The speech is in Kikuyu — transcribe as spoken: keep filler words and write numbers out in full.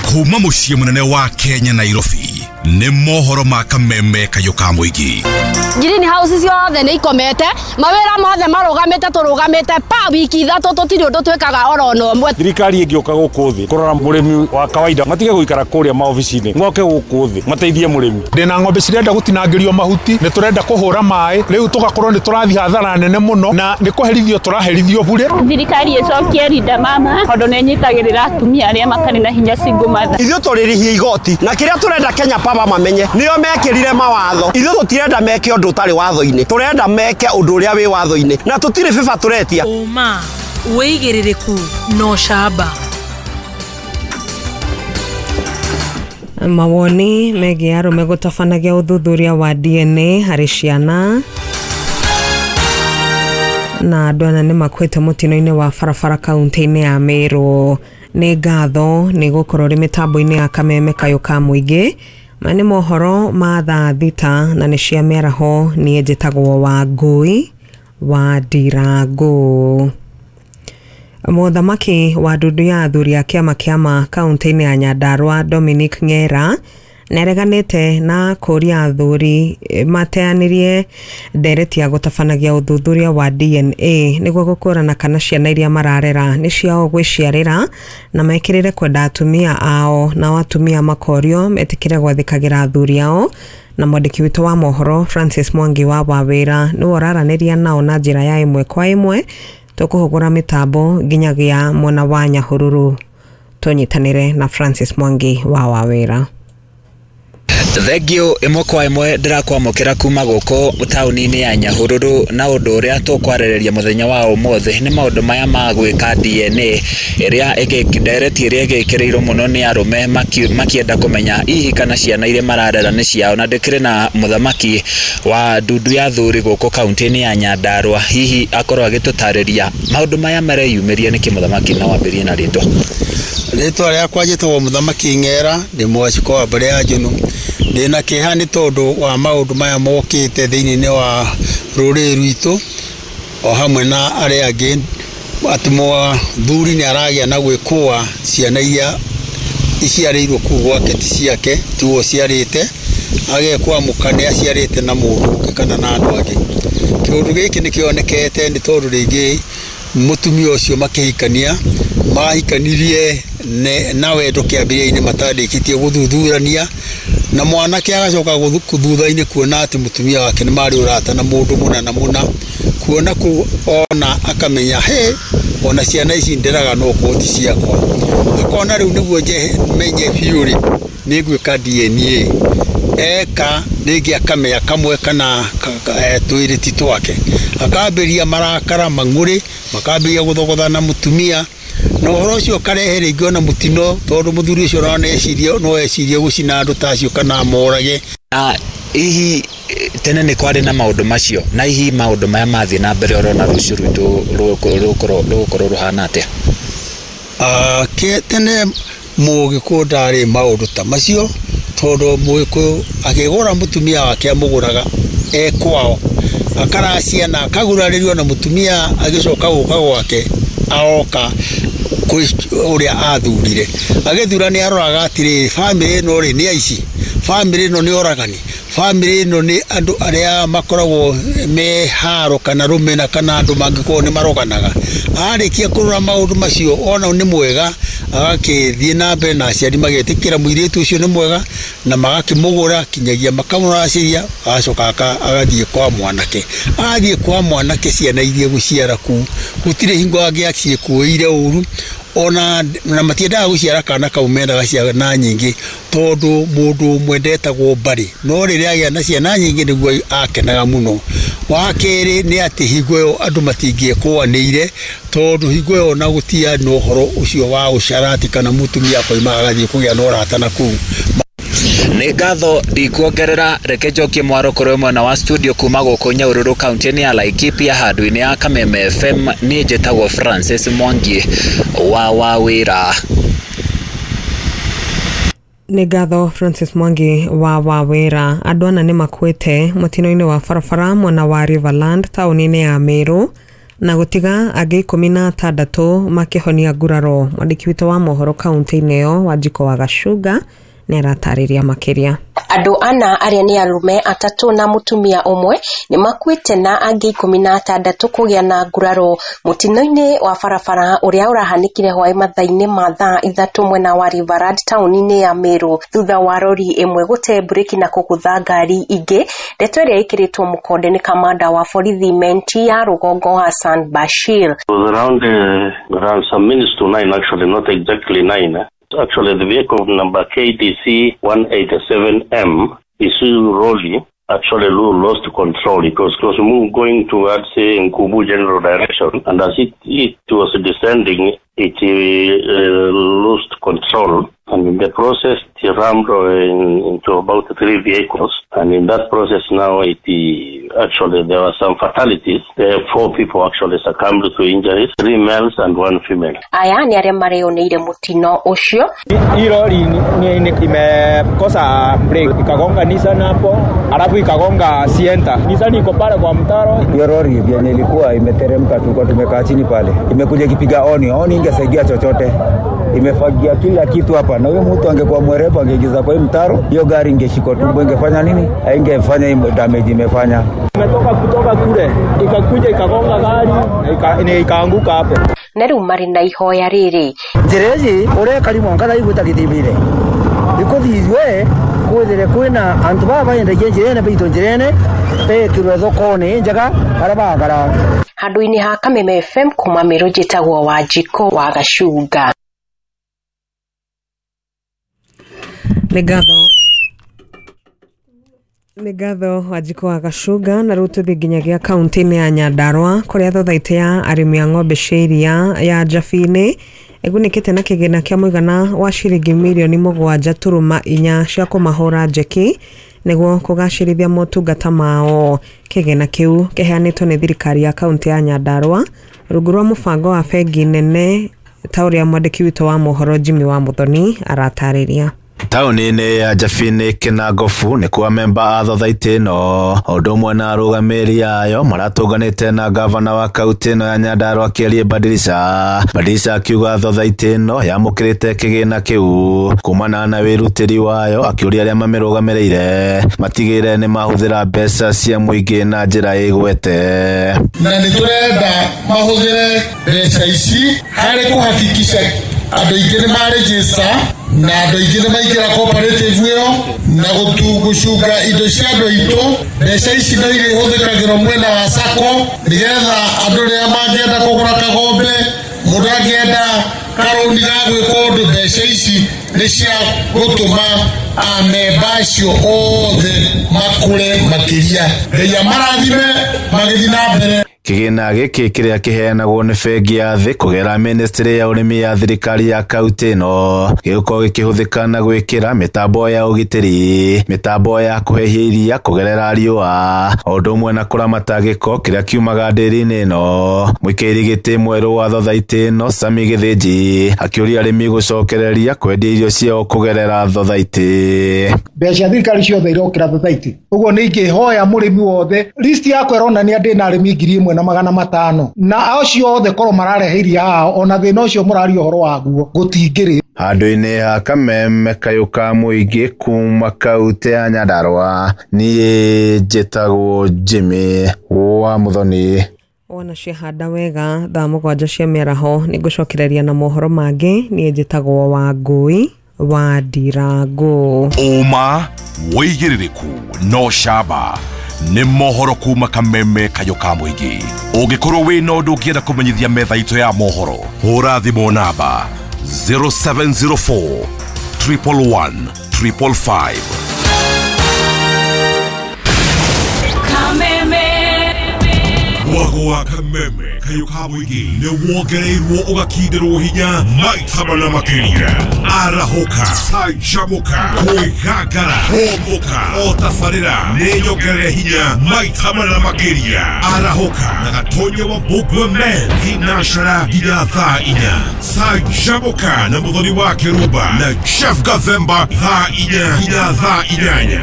Kuma mũciĩ mũnene wa Kenya Nairobi nĩ mohoro ma kameme kayũ ka mũingĩ. Greenhouse ciothe nĩ ikomete, mawĩra mothe marũgamĩte, tũrũgamĩte pa wiki ithatũ tũtirĩ ũndũ twĩkaga oro na ũmwe. Thirikari ĩngĩũka gũkũ thĩ kũrora mũrĩmi wa kawaida, matige gũikara kũrĩa maobici-inĩ, moke gũkũ thĩ mateithie mũrĩmi. Ndĩna ng'ombe cirenda gũtinangĩrio mahuti, nĩ tũrenda kũhũra maĩ, rĩu tũgakorwo nĩ tũrathiĩ hathara nene mũno na nĩ kũherithio tũraherithio bure. Thirikari ĩcokie Linda Mama tondũ nĩ ĩnyitagĩrĩra atumia arĩa matarĩ na hinya single mother. Ithuĩ tũrĩrĩhia igoti na kĩrĩa tũrenda Kenya Power mamenye nĩo mekĩrire mawatho. Ithuĩ tũtirenda meke ũndũ ũtarĩ watho-inĩ, tũrenda meke ũndũ ũrĩa wĩ watho-inĩ na tũtirĩ bĩba tũretia. Ũma, wĩigĩrĩrĩku na ũcamba. Mawoni megiĩ arũme gũtabanagia ũthuthuria wa D N A harĩ ciana na andũ ana nĩ makuĩte mũtino-inĩ wa barabara kaunti-inĩ ya Meru. Nĩ ngatho nĩ gũkorwo rĩ mĩtambo-inĩ ya kameme kayũ ka mũingĩ. Maya nĩ mohoro ma thaa thita na nĩ cia mĩaraho. Niĩ njĩtagwo Wangũi wa Ndirango. Mũthamaki wa ndundu ya athuri a kĩama kĩama kaunti-inĩ ya Nyandarua Dominic Ng'era nĩareganĩte na kũria athuri mateanĩrie ndereti ya gũtabanagia ũthuthuria wa D N A nĩguo gũkũrana kana ciana iria mararera nĩ ciao gwĩciarĩra na mekĩrĩre kwenda atumia ao, nao atumia makorio metĩkĩre gwathĩkagĩra athuri ao. Na mwandĩki witũ wa mohoro Francis Mwangi wa Wawĩra nĩwe ũraranĩria nao na njĩra ya ĩmwe kwa ĩmwe. Tũkũhũgũra mĩtambo nginyagia mwena wa Nyahururu. Tũnyitanĩre na Francis Mwangi wa Wawĩra. Thengio ĩmwe kwa ĩmwe ndĩrakwamũkĩra kuma gũkũ taũni-inĩ ya Nyahururu na ũndũ ũrĩa tũkwarĩrĩria mũthenya wa ũmũthĩ nĩ maũndũ maya ma gwĩka D N A ĩrĩa ndereti ĩrĩa ĩgĩkĩrĩirwo mũno nĩ arũme makĩenda kũmenya hihi kana ciana iria mararera nĩ ciao, na ndĩkĩrĩ na mũthamaki wa ndundu ya athuri gũkũ kaunti-inĩ ya Nyandarua hihi akorwo agĩtũtarĩria maũndũ maya mareyumĩria nĩkĩ. Mũthamaki, no wambĩrĩrie na rĩtwa. Rĩtwa rĩakwa njĩtagwo Mũthamaki Ng'era, ndĩ mwacikwa wa mbere ya Njũnũ. Ndĩna kĩeha nĩ tondũ wa maũndũ maya mokĩte thĩinĩ wa rũrĩrĩ rwitũ o hamwe na arĩa angĩ, atĩ mũthuri nĩ aragĩa na gwĩkũa ciana iria iciarĩirwo kũu gwake ti ciake, tiwe ũciarĩte, agekũa mũka nĩ aciarĩte na mũndũ ũngĩ kana na andũ angĩ. Kĩũndũ gĩkĩ nĩ kĩonekete nĩ tondũ rĩngĩ mũtumia ũcio makĩhikania mahikanirie na wendo kĩambĩrĩria-inĩ matandĩkĩtie gũthuthurania, na mwanake agacoka thutha-inĩ kuona atĩ mũtumia wake nĩ marĩ ũrata na mũndũ mũna na mũna, kuona kũu ona akamenya he ona ciana ici nderaga no korwo ti ciakwa, akona rĩu nĩguo menye biũ rĩ nĩ ngwĩka D N A. Eka rĩngĩ akamenya kamwe kana twĩrĩ ti twake, akambĩrĩria marakara mang'ũrĩ, makambĩrĩria gũthogothana mũtumia, na ũhoro ũcio ũkarehe rĩngĩ ona mũtino tondũ mũthuri ũcio no ecirie no ecirie gũcina andũ ta acio kana amorage. Na hihi tene nĩ kwarĩ na maũndũ macio, na hihi maũndũ maya mathiĩ na mbere ũrona rũciũ rwitũ rũgũkorwo rũhana atĩa? Tene mũgĩkũyũ ndarĩ maũndũ ta macio tondũ mũgĩkũyũ akĩgũra mũtumia wake amũgũraga e kwao, akaracia na akagurarĩrio na mũtumia agĩcoka gũka gwake aoka kwĩ ũrĩa athurire. Agĩthura nĩ aroraga atĩrĩrĩ, bamĩrĩ ĩno rĩ nĩ aici, bamĩrĩ ĩno nĩ oragani, bamĩrĩ ĩno nĩ andũ arĩa makoragwo me haro kana rũmena kana andũ mangĩkorwo nĩ maroganaga. Arĩkia kũrora maũndũ macio ona nĩ mwega, agakĩthiĩ na mbere na aciari magetĩkĩra mũirĩtu ũcio nĩ mwega na magakĩmũgũra kinyagia makamũracĩria, agacoka agathiĩ kwa mwanake. Athiĩ kwa mwanake ciana iria gũciara kũu gũtirĩ hingo angĩaciĩkũĩire ũru, ona na matiendaga gũciara kana kau, mendaga ciana nyingĩ tondũ mũndũ ũmwe ndetagwo mbarĩ, no rĩrĩa agĩa na ciana nyingĩ nĩguo akenaga mũno. Wa kerĩ nĩ atĩ hingo ĩyo andũ matingĩekũanĩire tondũ hingo ĩyo ona gũtiarĩ na ũhoro ũcio wa ũcarati kana mũtumia akoima agathiĩ kũgĩa na ũrata na kũu. Nĩ ngatho ndikuongerera, reke njokie mwaro kũrĩ mwena wa studio kuma gũkũ Nyahururu kaunti-inĩ ya Laikipia handũ-inĩ ya Kameme F M. Niĩ njĩtagwo Francis Mwangi wa Wawĩra. Nĩ ngatho Francis Mwangi wa Wawĩra. Andũ ana nĩ makuĩte mũtino-inĩ wa barabara mwena wa Riverland taũni-inĩ ya Meru. Na gũtiga angĩ ikũmi na atandatũ makĩhonia nguraro. Mwandĩki witũ wa mohoro kaunti-inĩ ĩyo Wanjikũ wa Gacunga nĩ aratarĩria makĩria. Andũ ana arĩa nĩ arũme atatũ na mũtumia ũmwe nĩ makuĩte na angĩ ikũmi na atandatũ kũgĩa na nguraro mũtino-inĩ wa barabara ũrĩa ũrahanĩkire hwaĩ mathaa-inĩ ma thaa ithatũ mwena wa Riverad taũni-inĩ ya Meru thutha wa rori ĩmwe gũte breki na kũgũtha ngari ingĩ. Ndeto ĩrĩa ĩkĩrĩtwo mũkonde nĩ kamanda wa borithi Menti ya rũgongo Hassan Bashir. It was around, uh, around some minutes to nine, actually, not exactly nine. Eh? Actually, the vehicle number K D C one eighty-seven M, Isuzu Roli, actually lost control. It was, it was going towards uh, Nkubu general direction, and as it, it was descending, it uh, lost control, and in the process, it rammed uh, into about three vehicles. And in that process now, it uh, actually there were some fatalities. There four people actually succumbed to injuries, three males and one female. Aya ni arĩa mareoneire mũtino ũcio. Hii lori ni imekosa brake, ikagonga Nissan hapo, alafu ikagonga Sienta. Nissan iko pale kwa mtaro. Hiyo lori yenye ilikuwa imeteremka, tulikuwa tumekaa chini pale. Imekuja ikipiga oni, oni ingesaidia chochote. Imefagia kila kitu hapa, na huyo mtu angekuwa mwerevu angeingiza kwa hii mtaro, hiyo gari ingeshikwa tumbo, ingefanya nini? Haingefanya hii damage imefanya. Imetoka kutoka kule, ikakuja ikagonga gari na ikaanguka hapo. Na rĩu marĩ na ihoya rĩrĩ. Njĩra ici ũreka rimwe ngatha igwĩta gĩthimire. Ikũthithwe kwithire kwĩna antu baba baendagia njĩra ene baitũ njĩra ene bekirwe thoko-inĩ njega arĩa bagara. Handũ-inĩ ha Kameme F M kuma Meru njĩtagwo Wanjikũ wa Gacunga. Nĩ ngatho nĩ ngatho Wanjikũ wa Gacunga. Na rĩu tũthiĩ nginyagia kaunti-inĩ ya Nyandarua kũrĩa thothaitĩ ya arĩmi a ng'ombe cia iria ya Njabini ĩgunĩkĩte na kĩgĩna kĩa mũigana wa ciringi mirioni mũgwanja turuma inya cia kũmahũra njeki nĩguo kũgacĩrithia motungata mao. Kĩgĩna kĩu kĩheanĩtwo nĩ thirikari ya kaunti ya Nyandarua rungu rwa mũbango wa bengi nene ta ũrĩa mwandĩki witũ wa mohoro Jimmy wa Muthoni aratarĩria. Taũni-inĩ ya Njabini Kĩnangobu nĩkuo amemba a thothaitĩ ĩno ũndũ ũmwe na arũgamĩrĩri ayo maratũnganĩte na gavana wa kaunti ĩno ya Nyandarua Kĩarie Badilisha. Badilisha akiuga thothaitĩ ĩno yamũkĩrĩte kĩgĩna kĩu kumana na wĩrutĩri wayo, akĩũria arĩa mamĩrũgamĩrĩire matigĩrĩre nĩ mahũthĩra mbeca cia mũingĩ na njĩra ĩgwete. Na nĩ tũrenda mahũthĩre mbeca ici harĩ kũhakikisha andũ aingĩ nĩ marejista na andũ aingĩ nĩ maingĩra cooperative ĩyo na gũcunga indo cia andũ aitũ. Mbeca ici no irĩhũthĩkagĩrwo mwena wa sacco nĩgetha andũ rĩrĩa mangĩenda kũgũra kagombe, mũndũ angĩenda karũni ga gwĩka ũndũ, mbeca ici nĩ cia gũtũma amemba acio othe makũre makĩria. Ngai amarathime magĩthiĩ na mbere. Kĩgĩna gĩkĩ kĩrĩa kĩheanagwo nĩ bengi ya thĩ kũgerera ministry ya ũrĩmi ya thirikari ya kaunti ĩno gĩgũkorwo gĩkĩhũthĩka na gwĩkĩra mĩtambo ya ũgitĩri, mĩtambo ya kũhehia iria kũgerera riũa, o ũndũ ũmwe na kũramata gĩko kĩrĩa kiumaga ndĩri-inĩ ĩno. Mũikairi gĩtĩ mwerũ wa thothaitĩ ĩno Sami Gĩthĩnji akĩũria arĩmi gũcokereria kwendia irio ciao kũgerera thothaitĩ. Mbeca thirikari ciothe irokĩra thothaitĩ, ũguo nĩ ingĩhoya mũrĩmi wothe list yakwa ĩronania ndĩna arĩmi ngiri ĩmwe na magana matano na acio othe korwo mararehe iria hao ona thĩna ũcio mũraria ũhoro waguo gũtingĩrĩ. Handũ-inĩ ha Kameme kayũ ka mũingĩ kuma kaunti ya Nyandarua, niĩ njĩtagwo Jimmy wa Muthoni. Wona ciahanda wega thaa mũgwanja cia mĩaraho nĩ ngũcokereria na mohoro mangĩ. Niĩ njĩtagwo Wangũi wa Ndirango. Ũma wĩigĩrĩrĩku no camba nĩ mohoro kuma Kameme kayũ ka mũingĩ. Ũngĩkorwo wĩna ũndũ ũngĩenda kũmenyithia metha itũ ya mohoro, hũra thimũ namba zero seven zero four triple one triple five. Kameme Mwago wa Kameme kayũ ka mũingĩ nĩ wongereirwo ũgakindĩrwo hinya maita mana makĩria. Arahũka, canjamũka, kwĩgangara, hũmũka, o tabarĩra nĩ nyongerere hinya maita mana makĩria. Arahũka na Gatonya wa Mbũgua Men thinacara nginya thaa inya. Canjamũka na Mũthoni wa Kĩrumba na Jeff Gathemba thaa inya nginya thaa inyanya.